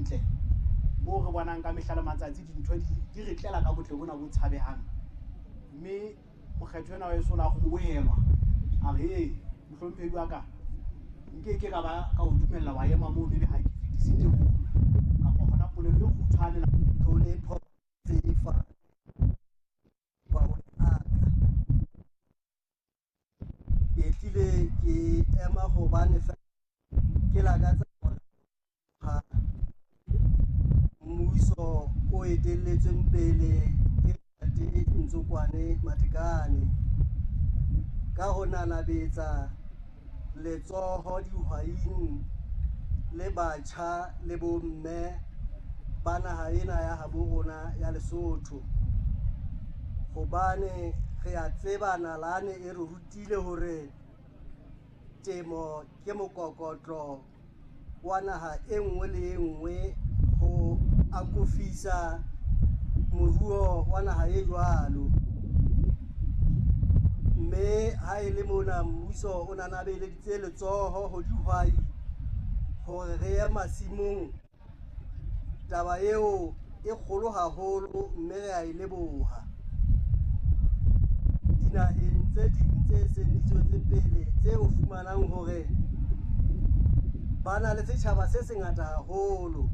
ntle moo re bonang ka mehla le matsatsi dintho di re tlela ka botle bona bo tshabehang. Mme mokgetho ena wa heso o la kgobohelwa, a re ee mohlomphehi wa ka, nke ke ka ba ka o dumella wa ema mono ebe ha ke fetise teboho kapa hona polelo e kgutshwane. Tlholepho tsefa aka ke tlile ke ema hobane ke lakatsa ha mmuso o etelletsweng pele ke Ntate Ntsokoane Matekane ka ho nanabetsa letsoho dihwaing le batjha le bomme ba naha ena ya habo rona ya Lesotho. Hobane re a tseba nalane e re rutile hore temo ke mokokotlo wa naha e nngwe le e nngwe ho akofisa moruo wa naha e jwalo. Mme ha e le mona mmuso o nanabeleditse letsoho ho dihwai hore re ye masimong, taba eo e kgolo haholo mme re a e leboha. Dinaheng tse ding tse seng di tswetse pele tse o fumanang hore ba na le setjhaba se sengata haholo.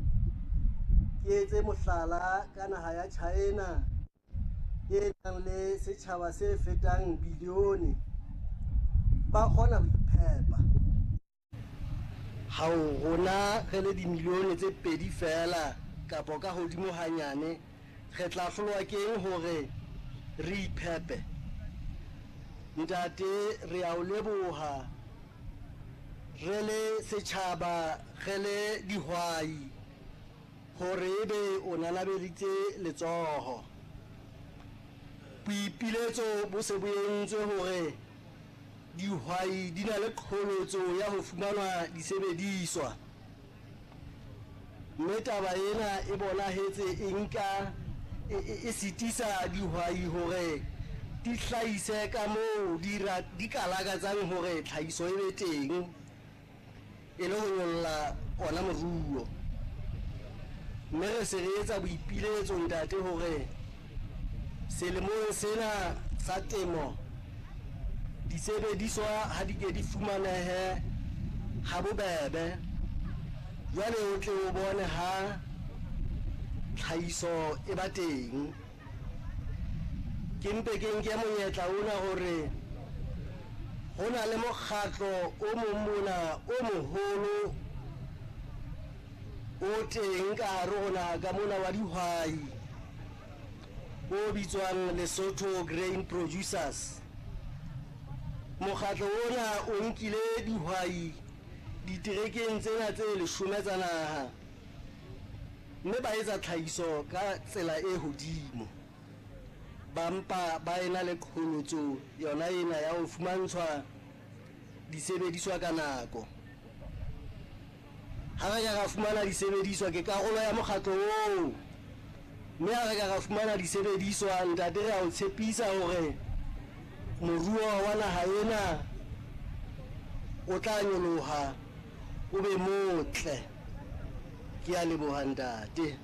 Ke etse mohlala ka naha ya China e nang le setjhaba se fetang bilione, ba kgona ho iphepa. Hao rona re le dimilione tse pedi feela kapa ka hodimo hanyane, re tla hlolwa keng hore re iphepe? Ntate, re a o leboha re le setjhaba, re le dihwai hore ebe o nanabeditse letsoho. Boipiletso bo se bo entswe hore dihwai di na le qholotso ya ho fumanwa disebediswa. Mme taba ena e bonahetse e nka e sitisa dihwai hore di hlahise ka moo di ka lakatsang hore tlhahiso e be teng e le ho nyolla ona moruo. Mme re se re etsa boipiletso ntate hore selemong sena sa temo disebediswa ha di ke di fumanehe ha bobebe. Jwale o tle o bone ha tlhahiso e ba teng. Ke mpe ke nke monyetla ona hore ho na le mokgatlo o mong mona o moholo o teng ka hare ho naha ka mona wa dihwai o bitswang Lesotho Grain Producers. Mokgatlo ona o nkile dihwai diterekeng tsena tse 10 tsa naha mme ba etsa tlhahiso ka tsela e hodimo. Ba mpa ba ena le qholotso yona ena ya ho fumantshwa disebediswa ka nako. Ha re ka ra fumana disebediswa, ke karolo ya mokgatlo oo. Mme ha re ka ra fumana disebediswa, ntate, re a o tshepisa hore moruo wa naha ena o tla nyoloha o be motle. Ke a leboha ntate.